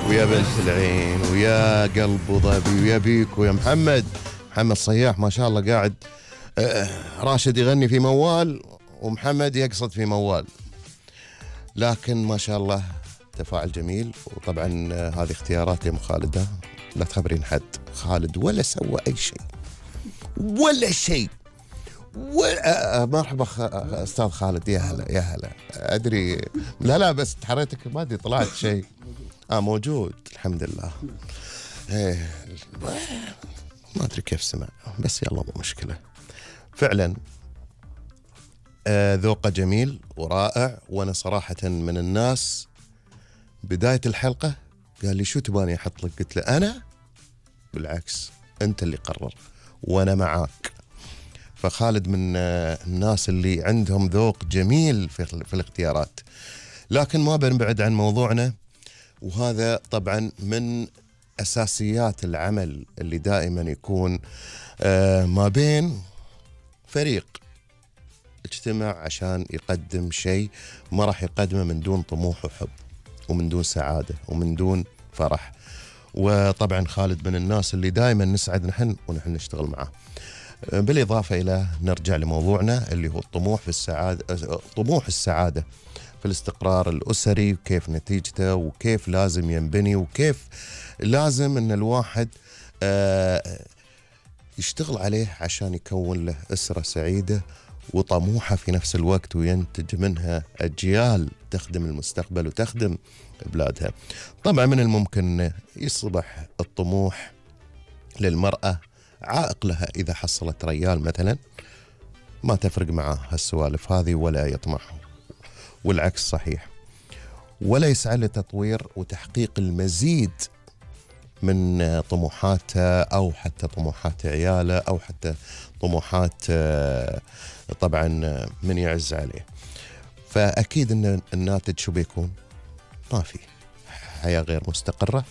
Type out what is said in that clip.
ويا بنت العين ويا قلب ظبي ويا بيك ويا محمد صياح ما شاء الله قاعد. راشد يغني في موال ومحمد يقصد في موال، لكن ما شاء الله تفاعل جميل. وطبعا هذه اختيارات يا خالد، لا تخبرين حد. خالد ولا سوى أي شيء ولا شيء. مرحبا أستاذ خالد، يا هلا يا هلا. أدري لا بس حريتك ما أدري طلعت شيء. موجود الحمد لله. ما أدري كيف سمع، بس يلا مو مشكلة. فعلا ذوقه جميل ورائع. وأنا صراحة من الناس بداية الحلقة قال لي شو تباني أحط لك؟ قلت له أنا بالعكس، أنت اللي قرر وأنا معاك. فخالد من الناس اللي عندهم ذوق جميل في الاختيارات. لكن ما بنبعد عن موضوعنا، وهذا طبعا من أساسيات العمل اللي دائما يكون ما بين فريق اجتمع عشان يقدم شيء ما راح يقدمه من دون طموح وحب ومن دون سعادة ومن دون فرح. وطبعا خالد من الناس اللي دائما نسعد ونحن نشتغل معه. بالإضافة إلى نرجع لموضوعنا اللي هو الطموح في السعادة، طموح السعادة في الاستقرار الأسري، وكيف نتيجته وكيف لازم ينبني وكيف لازم أن الواحد يشتغل عليه عشان يكون له أسرة سعيدة وطموحة في نفس الوقت، وينتج منها أجيال تخدم المستقبل وتخدم بلادها. طبعا من الممكن يصبح الطموح للمرأة عائق لها إذا حصلت ريال مثلا، ما تفرق معه هالسوالف هذه ولا يطمح، والعكس صحيح، ولا يسعى لتطوير وتحقيق المزيد من طموحاته أو حتى طموحات عياله أو حتى طموحات طبعا من يعز عليه. فأكيد أن الناتج شو بيكون؟ ما في حياة غير مستقرة.